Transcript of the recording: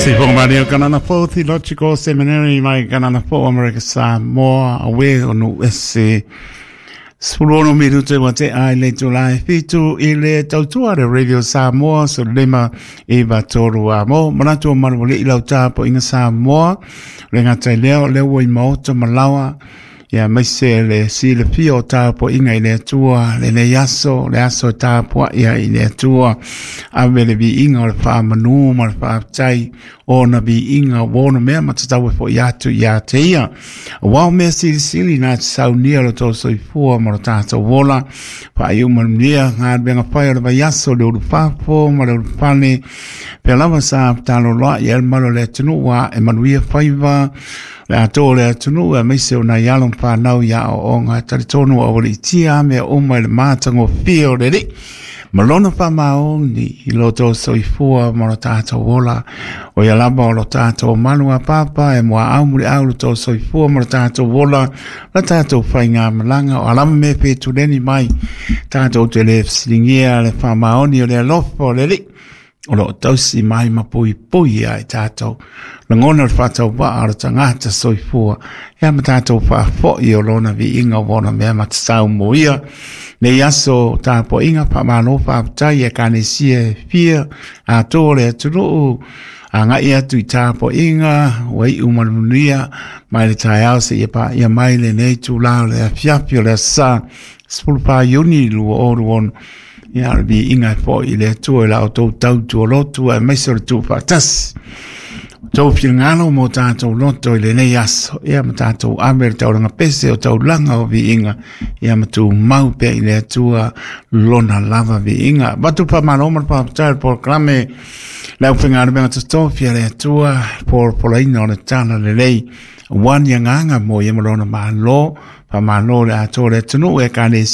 Sifoga Kanana Fou Theological Seminary mai Kanana Fou Amerika Samoa awe o nu ese 16 minuto wa te ai le tula e 7 i le tautua le Radio Samoa so lema i vatoru a mo manatu o malu i lau tapo inga Samoa le ngata leo leo i maoto malawa ia maise le silafia o tapuaiga i le Atua lenei aso, le aso e tapuai ai i le Atua. Ave le viiga o le faamanū ma le faafetai o ona viiga ua ono mea ma tatau e fo'i atu iā te ia. Auā o mea silisili na te saunia lo tou soifua ma lo tatou ola. Faaiu manuia galuega fai o le vaiaso le ulufafo ma le ulufale. Pea lava sa taloloa'i ai le malu o le atunuu a e manuia faiva le atoa o le atunuu aemaise o nai alo ma fanau i aoaoga e talitonu ua aualiitia a mea uma i le matagofie o le Alii ma lona faamaoni i lo outou soifua ma lo tatou ola. O ia lava o lo tatou malu a papa e muaau muliau lo outou soifua ma lo tatou ola, la tatou faigamalaga o alama me fetuleni mai tatou te le fesiligia le faamaoni o le alofa o le Alii o lo o tausi mai ma puipui ia i tatou. Lagona le faatauvaa o le tagata soifua, ia ma tatou faafoi o lona viiga o ona mea matatau mo ia. Nei aso tapuaiga faamalo faafetai e Ekalesia e fia atoa le atunuu agai atu i tapuaiga ua iu ma le manuia mai le taeao seia paia mai lenei itula o le afiafi o le aso Sa 14 Iuni 2026. Ia, o le viiga e foi i le Atua i la outou tautua lotu aemaise o le tuufaatasi. Outou finagalo mo tatou loto i lenei aso, ia ma tatou ave le taulaga pese o taulaga o viiga, ia ma tumau pea i le Atua lona lava viiga. Avatu le faamalo ma le faafetai o le polokalame le aufaigaluega totofi a le Atua, polapolaina o le tala lelei, aua ni agaga mo ia ma lona malo, faamalo le atoa o le atunuu e Ekalesia.